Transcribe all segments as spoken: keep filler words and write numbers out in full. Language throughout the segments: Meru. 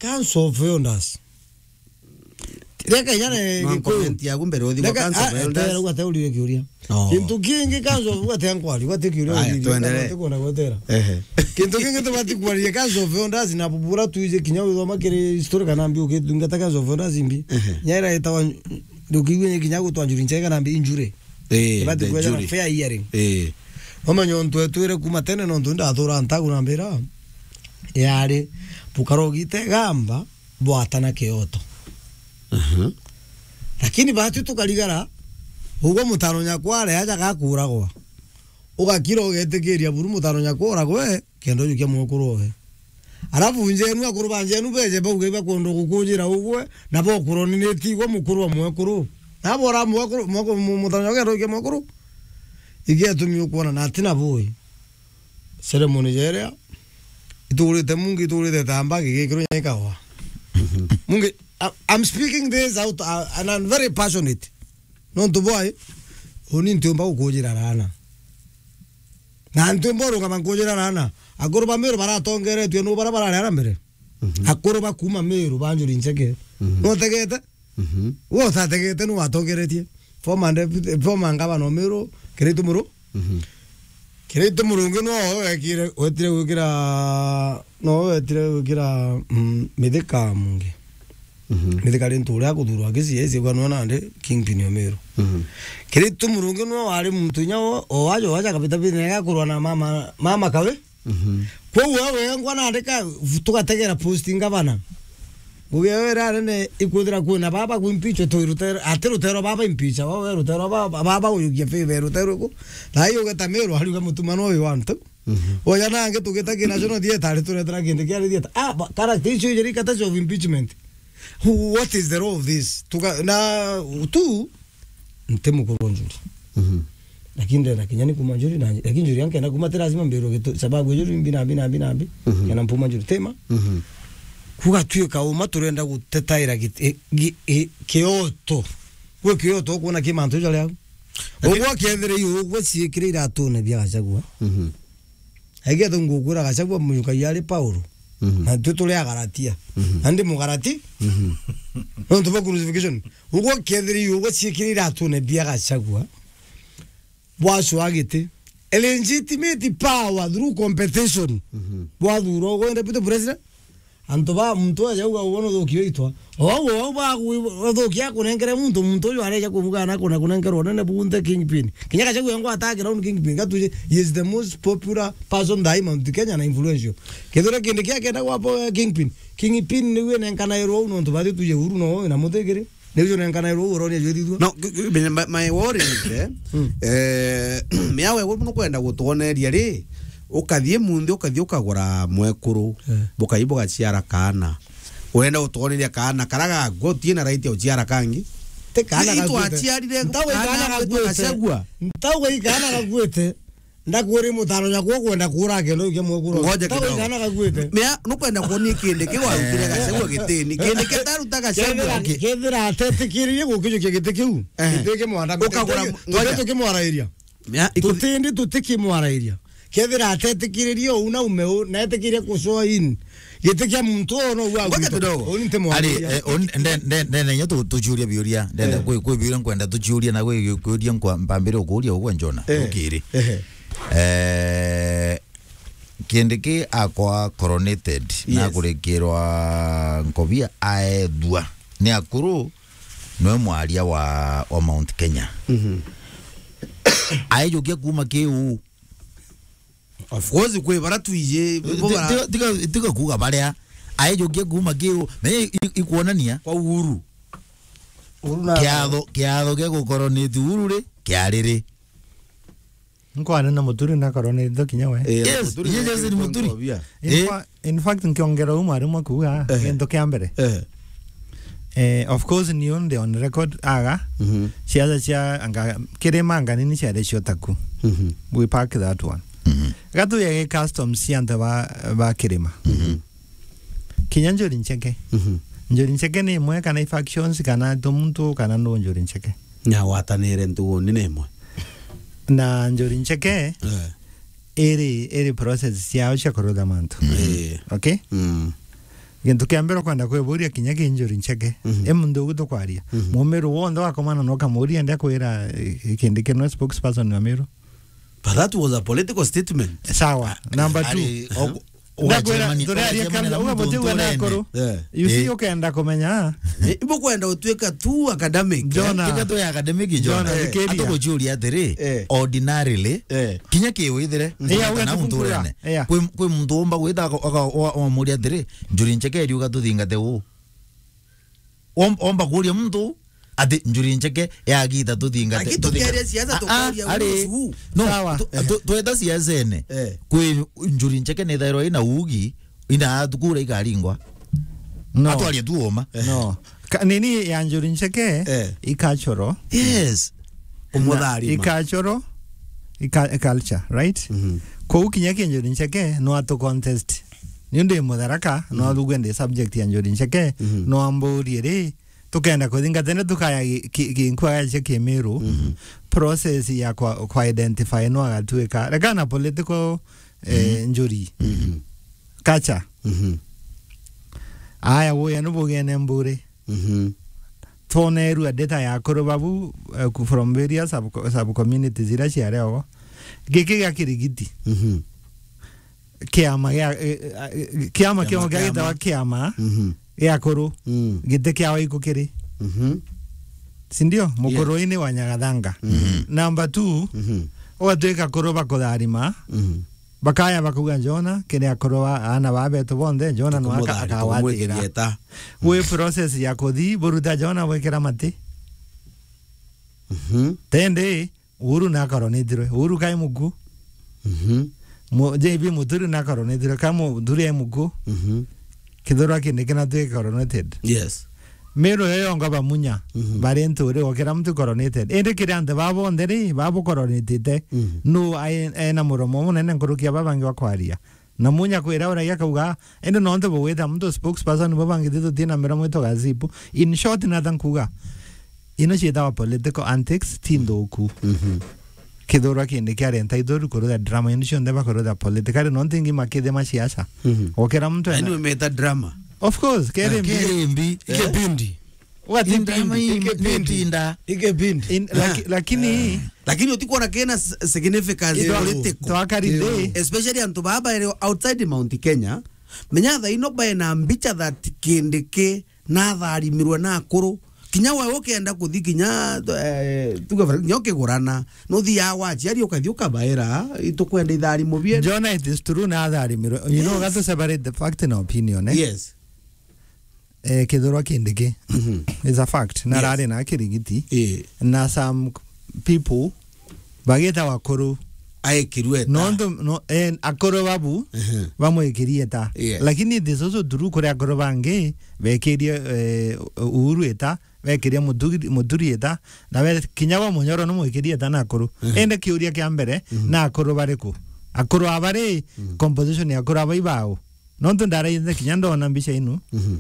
Council of Elders. Reka inya ne Gikuyu. Comment yaku mbere uthi kwa Reka, Council of ah, Elders. Tera uga te urire kiuria. Oh. Kintu kingi Council of Elders te nkwari, uga te kiuria. Aya, urire, tuendelee. Nkwona gwetera. Ehe. Kintu kingi tubati kwaria Council of Elders na bubura tuije kinya uthoma kiri historical na mbi ukithungata Council of Elders mbi. Ehe. Nyaira itawa ndukiwe kinya gutwa njuri nchega na mbi injury. Eh, ibati the kwethira jury. Fair hearing. Eh. Wamenya untu etwire kuma tene nontu ndathura ntagu na mbira. Yari, bukarogite gamba, bwatana kioto. Mhm. Lakini batu tukarigara, ugwe mutano nyakware aja gakuragwa. Ugakira ugetikiria buru mutano nyakwara gwe, kenda ujukia mwekuru owe. Alafu njenu akuru ba njenu beje bauge ibakwenda gukujira ugwe, na bokuroni ni tigwa mukuru wa mwekuru. Na bora mwekuru, mwekuru, mu-, mutano nyakwara ujukia mwekuru. Igiatumi ukwona na atina bui. Ceremony jeria, itugurite mungi, itugurite tamba, gigikirwo nyekawa. Mungi, I, I'm speaking this out, uh, and I'm very passionate. Nontu bwai, uni ntiumba gukujira rana. Na ntiumba urungama nkujira rana. Akuru ba Meru baratongeretue nu bara barari ara mbere. Mhm. Akuru ba kuma Meru ba njuri ncheke. Mhm. Nutegete? Mhm. We utategete nu watongeretie. Former deputy, former ngavana o Meru, Kiraitu Muru. Mhm. Kiraitu Murungi no wekire, wetire gwikira, no wetire gwikira, mm, Mithika Mungi. Mhm. Mithika ri ntu uria akuthurwa Kisii, esi kwa nona ndi kingpin o Meru. Mhm. Kiraitu Murungi no wari muntu inya o, o wajo waja kabita bine ya kurwa na mama, mama kawe. Mhm. Kwou we wengwa nandika, tugategera post ngavana. Ngugi eyo ira nene ikwithira kwina baba ku impeach tu rutero, ati rutero baba impeach, wa we rutero baba, baba uyukia favor rutero ku. Na iyo ugeta Meru, ariuga mutuma no uyu antu. Mhm. Oya nangi tugita ki National Theatre, ari turetera kindi kiari theatre. Ah, ba-, character icio ijiri kata of impeachment. Who, what is the role of this? Tuka, na tu, nti mukuru wa njuri. Mhm. Lakini ndenda kinya ni kuma njuri na, lakini njuri yankenda kuma ti lazima mbirwe gitu, sababu njuri mbi na mbi na mbi na mbi, mhm, kana mpuma njuri tema. Mhm. Kugatwika uma turenda gutetaira git-, e, gi-, e, kioto. Gwe kioto ukuona ki mantu jaria au. Lakini ugwe kethire iyo, ugwe ciikire iratune bia Gachagua. Mhm. Aigete ngukwira Gachagua munyukai ari Paulo. Mhm. Na twi turi Agalatia. Mhm. Na ndi Mugalati. Mhm. Nontu bwa crucifixion. Ugwe kethiri ugwe ciikire iratune bia Gachagua. Bwacua giti. A legitimate power through competition. Mhm. Bwathurwa ugwe deputy president. Antu ba muntu aja uga uwe nuthukia itwa. O au, o au ba ku-, uthukia akunenkere muntu, muntu uyu areja kubuga na kuna kunenkerwa unene bunthe kingpin. Kinya Gachagua engwa attack round kingpin. Gatuje, he is the most popular person thaa hii Mount Kenya na influential. Kethira kindi kia kenda gwa po-, kingpin. Kingpin ni we nenkana ero au nontu bathi tuje uru no na muthigiri. Ni uju nenkana ero au uroni ajwithithua. No, g-, g-, my, my worry is, eh, mm, eh, miawe we nukwenda gutwoneria ri, ukathie munthi, ukathie ukagura mwekuru, eh, bukai bugaciara kaana. Urenda gutwoneria kaana kara gakwa utie na right ya uciara kangi? Ti kaana gakuite. Itwaciarire kaana gakuite. Ntauga i kaana gakuite. Ndakwiri mutano nyakwa ukwenda kuura kendo ukia mwekuru. Ngoja kidogo. Ntauga i kaana gakuite. Mea, nukwenda kuonia kindi kiu warutire Gachagua gitini. Kindi kia taruta Gachagua. Kethira, kethira atetikiririe gukijukia giti kiu. Eh. Giti kimwanda. Ukagura, ngoja. Tukimwarairia. Mea, iku- tutindi tutikimwarairia. Kethira atetikiririe uu na ume uu, na etikirie kucoa in. Giti kia muntu uu no ua. Ngoja kidogo. Uu ni ntimwarairia. Ari, eh, uu ni, nde-, nde-, ndenda inya tu-, tuciuria biuria. Ndenda, eh, kwi, kwi biuria nkwenda tuciuria na kwi kiuria nkwa mpambire ukuria ugwe Njona. Eh. Ukiri. Eh. Eh, Kindiki akwa coronated, yes, na kurikirwa nkobia aethua ni akuru, nwe mwaria wa, wa Mount Kenya. Mhm. Aijukia kuma kiu. Of course, kwi bara tuiji, bo bara tiga, tiga, tiga kuga baria. Aijukia kuma kiu. Me i-, i-, ikuonania kwa Uhuru. Uhuru na kiatho, kiatho gia gukoronate Uhuru ri, kiari ri? Nkwane na Muturi na coronated kinya we. Eh, yes, Muturi yes, na yes, ni Muturi. Nkobia. In fa-, in fact, nkiongera umwe arimwe kuuga, eh, gintu kia mbere. Eh. Eh, of course, ni undi on record aga, mhm, ciaca cia anga, kirima anga nini ciari cio taku. Mhm. We park that one. Mhm. Gatuye gi customs cia antu ba, ba kirima. Mhm. Kinya Njuri Ncheke. Mhm. Njuri Ncheke ni imwe kana i factions kana tu muntu kana nu Njuri Ncheke. Nyagwatanire ntuguuni ni imwe. Na Njuri Ncheke, eh, iri, iri process ciao cia kurutha mantu. Eh. Okay? Mm. Gintu kia mbere ukwenda kwiburia kinya ki Njuri Ncheke. Mhm. E muntu ugu tukwaria. Mhm. Mumiru wonthe wakomana na ukamuria, ndia kwira, eh, Kindiki no spokesperson wa Miru. But that was a political statement. Sawa. Number two. Ari, o-, Ndakwira, ugacheremania, turaria ugacheremania kabla, na uga muntu muti uga na nturene. Akuru. Eh. You see, Eh. Ukenda kumenya. Eh, ibo kwenda utuika tu academic, eh? Jonah. Kenda tu ya academic, Jonah. Jonah, Eh. Thikiria. Atugucuria atiri, Eh. Ordinarily, Eh. kinya ki withire, Eh, uga kana tu muntu kuga. Urene. Eh. Kwi, kwi muntu umba gwita aka-, aka-, wa-, wamuria atiri, Njuri Ncheke eri uga tuthingate uu. Om-, omba kuria muntu ati Njuri Ncheke yagita tuthingate, Aki tuthingate. Tukeria siasa. Ah, ah, tukoria ari. Usu. No, Sawa. Tu-, tu-, tweta siasene. Eh. Kwi Njuri Ncheke ni thairwa ina ugi, ina atukura ikaringwa. No. Atwaria tu uma. No. Ka-, nini ya Njuri Ncheke, Eh. I cultural. Yes. Umutharima. I cultural, i ca-, i culture, right? Mhm. Kou kinya ki Njuri Ncheke, no atu contest. Ni undi Mutharaka, no Mhm. athugue ndi subject ya Njuri Ncheke, Mhm. no amburie ri, tukenda kuthingata ni tukaya gi-, ki-, ki-, nkua ya cia Kimiru, Mhm. process ya kwa, kwa identify no agatuika. Reka na political, eh, Mhm. Njuri. Mhm. Culture. Mhm. Aya, woya ni bugene mburi. Mhm. Twonerua data ya akuru babu, eh, ku-, from various sub-, sub-communities iria ciari ogo. Giki gia Kirigiti. Mhm. Kiama gia, eh, eh, kiama Kiama kiu kia gitawa kiama. Kiama. Mhm. Gia akuru. Mm. Giti kiao iku kiri. Mhm. Si ndio? Yes. Mukuruini wa Nyagathanga. Mhm. Number two, Mhm. ugatwika akuru bakutharima. Mhm. Bakaya bakauga, Jona, kiri akuru ba, aana ba betu bonthe, Jona no aka-, tukumuthaari-, akawatira. Tukumwikirieta. Wi process ya kuthi, buruta Jona bwikira mati. Mhm. Tende, Uhuru na akoronitirwe. Uhuru kai muku. Mhm. Mu-, J B Muturi na akoronitirwe. Kai Muturi ai muku. Mhm. Kithurwa kindi kina twi coronated. Yes. Miru yo yonga bamunya, Mhm. bari nturi, o kira muntu coronated. Indi kiri antu baa bonthe ri, baa bucoronatite, Mhm. nu ai-, ena muromo munene nkuruki ya baa bangi bakwaria? Na munya kwira uragia akauga, indi nontu bugwita muntu spokesperson, bo bangi ti tutina miromo itwa gazipu. In short, nata nkuga, ino ciitawa political antics, ti nthuku. Mhm. Kithurwa kindi kiari entitled kurutha drama indi cionthe bakurutha politically, nontu ingi makithima siasa. Mhm. Gukira muntu ena Yaani umeta drama. Of course, kere mbi. Kere mbi. Eh. Ikipindi. What Inda kipindi? Mai-, Ikipindi. Mitinda. Ikipindi. In-, laki-, Ah. Lakini Eh. Lakini utikuona kena s-, significance Ito-, political. Twakarinde. Especially antu baba ere outside Mount Kenya. Menya thaa ino bae na mbicha that Kindiki nathaarimirwe na akuru. Kinya we ukenda kuthi kinya, eh, tuge for, kinya ukigurana, nuthiaga gwa aciari ukathi ukabaira, "Itukwenda ithaarimo bietu." Jona, it is true, nathaarimirwe. You know, Yes. we have to separate the fact na opinion, eh? Yes. Eh, kithurwa Kindiki. Mhm. It's a fact. Na Yes. rari na Kirigiti. Eh. Na some people bagita akuru. Aekirwe eta. Nontu, no, eh, akuru babu, Mhm. bamwikirie eta. Yes. Lakini it is also true kuri akuru bangi bekirie, eh, Uhuru eta, bekirie Muturi, Muturi eta, na be-, kinya gwa Munyoro ni mwikirie eta na akuru. Mhm. Indi kiuria kia mbere, Mhm. na akuru bariku? Akuru aba ri, Mhm. composition ya akuru aba ibao? Nontu ndaraithe kinya ndona mbica inu. Mhm.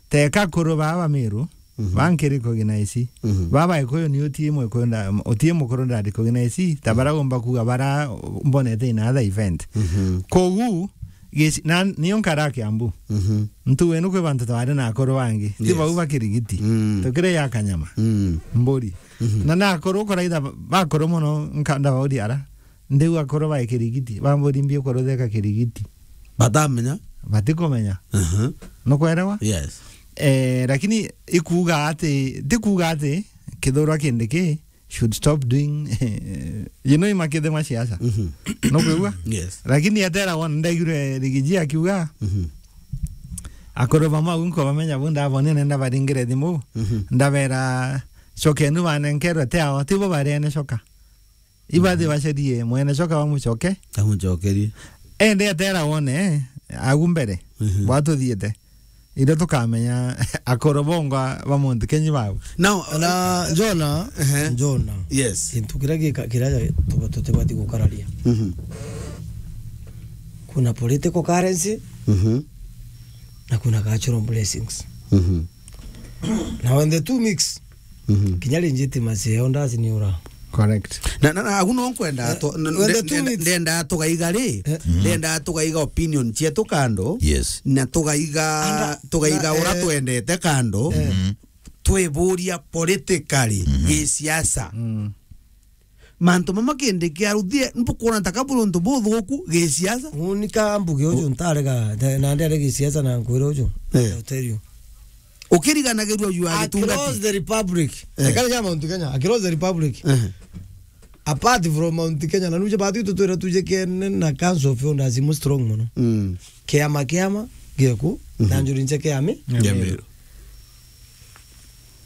Teka akuru baa ba Miru, Mhm. ba nki recognize. Mhm. Baa ba Gikuyu ni utie Mwikuyu nda-, utie mukuru nda recognize, ta Mhm. bara umba kuga bara mbonete in other event. Mhm. Kogu, geci-, na nio nkara Kiambu. Mhm. Ntu wenu kwi bantu twari na akuru bangi. Ti Yes. bau ba Kirigiti. Mm. Tukire ya Kanyama. Mm. Mburi. Mhm. Na na akuru kuraitha ba-, bakuru muno nka-, ndabauria ara. Ndiu akuru ba Kirigiti, bamburi mbi ukuru theka Kirigiti. Batamenya? Batikumenya. Aha. Nukwerewa? Yes. Eh, lakini ikuuga ati, tikuuga ati kithurwa Kindiki should stop doing, you know, imakithe ma siasa. Mhm. Nukwigua? Yes. Lakini atera wona ndaigire Rigiji akiuga, Mhm. akuru bamwe au nkobamenya bu ndabonene ndabaringire thimu, Mhm. ndabera, "Cokenu banenkerwe te ao, tibo bariene coka." Ibathi Mhm. bacerie mwene coka bamucoke. Amucokerie. Ende atera wone, agu mbere, Mhm. bwatuthiete. Iria tukamenya akoro bongwa ba muntu kenyi bau. Now, na Jona, Ehe. Jona. Yes. Kintu kiria gika-, kiria tuba-, tutibati gukararia. Mhm. Kuna political currency, Mhm. na kuna cultural blessings. Mhm. Na when the two mix, Mhm. kinya legitimacy yao ndaciniura. Correct. Na, na, na, agu no nkwenda Eh, to-, n-, when the nde-, two nde-, weeks. Ndenda tugaiga ri, Eh. Ndenda tugaiga opinion cietu kando, Yes. Na tugaiga, Anda-, tugaiga na, ura eh, twendete kando, Eh. Twiburia politically, gisiasa. Mm. Mantu mama kindi kia ruthie, mbukwona ta kaburi untu buthuku gisiasa. Uni ka mbuge uju ntarega, na ndere gisiasa na nkwira uju. Eh. I'll tell you. Ukiriganagirua juu ya gitungati. Across the republic. Eh. Ekari ya Mount Kenya, across the republic. Eh. Apart from Mount Kenya, na nuje batu tutwira tuje kene na Council of Elders imu strong muno. Mm. Kiama, kiama, gieku, na njuri nche kiami. Ya Meru.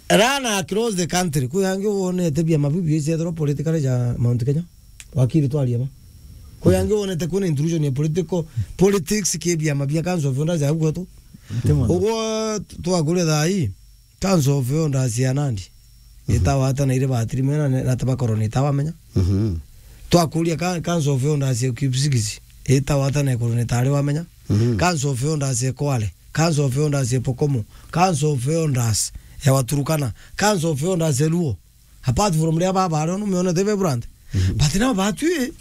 Run across the country. Kwi angi wonete biama biu biiciethirwa politically ja Mount Kenya? Wakiri twaria ma. Kwi angi wonete kwina intrusion ya political, politics ki biama bia Council of Elders ya gwetu? Nti mono. Uguo twakuria thaa ii, Council of Elders ya Nandi, itawa ata na ire batiri mena ne-, na tabakorwo ni itawa menya. Mhm. Twakuria ka-, Council of Elders ya Kipsigis, itawa ata na ikorwo ni tari wamenya. Mhm. Council of Elders ya Kwale, Council of Elders ya Pokomo, Council of Elders ya Waturukana, Council of Elders ya Luo. Apart from ria baba ario no meona te vibrant. Mhm. But now batwi,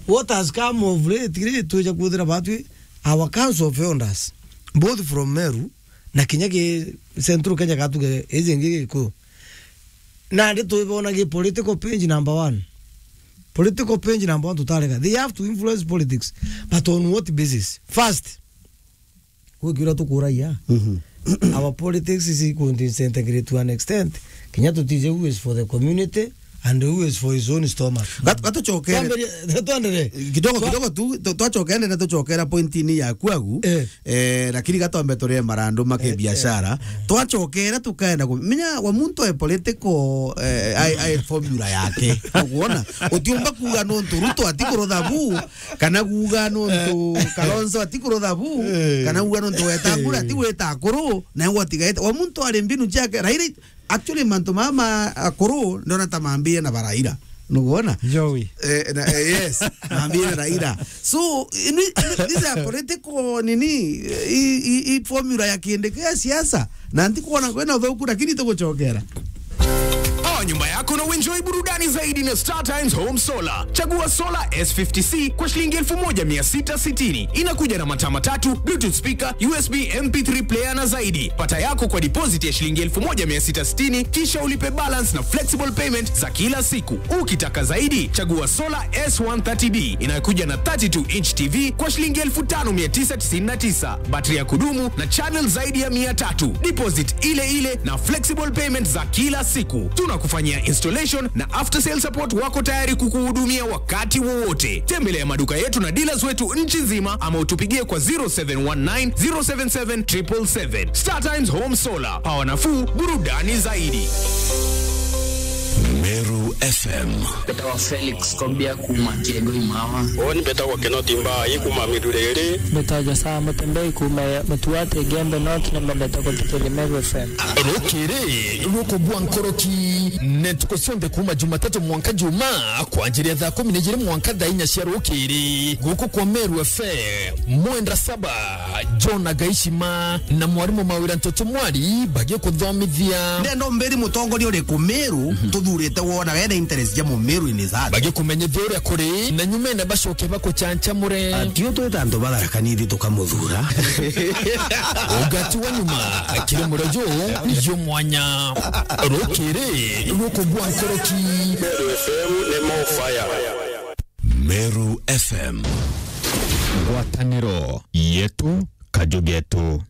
what has come of late, ri, twija kuthira batwi, our Council of Elders, both from Meru, na kinya ki Central Kenya gatuge, iji ingi Gikuyu. Nandi twibona gi political page number one. Political page number one tutarega. They have to influence politics, but on what basis? First, gwi kiuria tukuragia. Mhm. Our politics is equal to disintegrate to an extent. Kinya tutije who is for the community and who is for his own stomach. Gat-, gatucokere. Twambirie, twendere. Kidogo, Twa- kidogo tu, tu-, twacokere na tucokera pointini yaku agu. Eh. Eh, lakini gatwambe turie marandu ma Eh, eh. Kibiashara. Twacokera tukaenda ku-, menya wa muntu e political, eh, ai, ai formula yake. Uguona? Utiumba kuuga nontu Ruto atikurutha bu, kana kuuga nontu Kalonzo atikurutha bu, Eh. kana kuuga nontu Wetangula Eh. ati gwita akuru, na gwatigaite. Wa muntu ari mbinu ciake. Raila, actually, mantu mama akuru ndona ta mambie na Baraila. Nuguona? Joey. Eh, na, eh, yes, mambie na Raila. So, ini, ini, these are political, nini, i, i, i formula ya kindi kia siasa. Na ntikuona kwina uthuku, lakini tugucokera. Oa nyumba yako na uenjoy burudani zaidi na Star Times Home Solar. Chagua Solar S fifty C kwa shilingi elfu moja mia sita sitini. Inakuja na mataa matatu, Bluetooth speaker, U S B M P three player na zaidi. Pata yako kwa deposit ya shilingi elfu moja mia sita sitini, kisha ulipe balance na flexible payment za kila siku. Ukitaka zaidi, chagua Solar S one thirty D inayokuja na thirty-two inch T V kwa shilingi elfu tano mia tisa tisini na tisa, battery ya kudumu na channel zaidi ya mia tatu. Deposit ile ile na flexible payment za kila siku. Tunakufanyia installation na after sale support, wako tayari kukuhudumia wakati wowote. Tembelea maduka yetu na dealers wetu nchi nzima ama utupigie kwa zero seven one nine, zero seven seven, triple seven. Star Times Home Solar, power nafuu, burudani zaidi. Meru F M. Mbetawa Felix Kobia kuuma Kiego Imawa. Uuni mbetagwa Kinoti Mbai kuuma Miruriri. Mbetawa Josaa Mutembei kuuma Mutuati Igembe North, na mbendete kuthikiriria Meru F M. Rukiri rukubua nkoroki, na ntuku cionthe kuuma Jumatatu mwanka Jumaa, kwanjiria thaa kumi na ijiri mwanka thaa inya cia rukiri, guku kwa Meru F M. Mwenda Saba, John Agaishima, na mwarimu Mawira Ntoto Mwari bagikuthomithia. Ndenda umbiri mutongoria uriku Meru tuthurite wonaga ena interest ja Mumiru in his heart. Bagikumenyithia uria kuri, na nyumene bacoke bakuchanchamure. Atio twita antu batharakanithi tukamuthura. Ugati wa nyuma kiri murejo jumwanya. Rukiri rukubua nkoroki. Meru F M ni more fire. Meru F M. Ngwataniro yetu, kaju getu.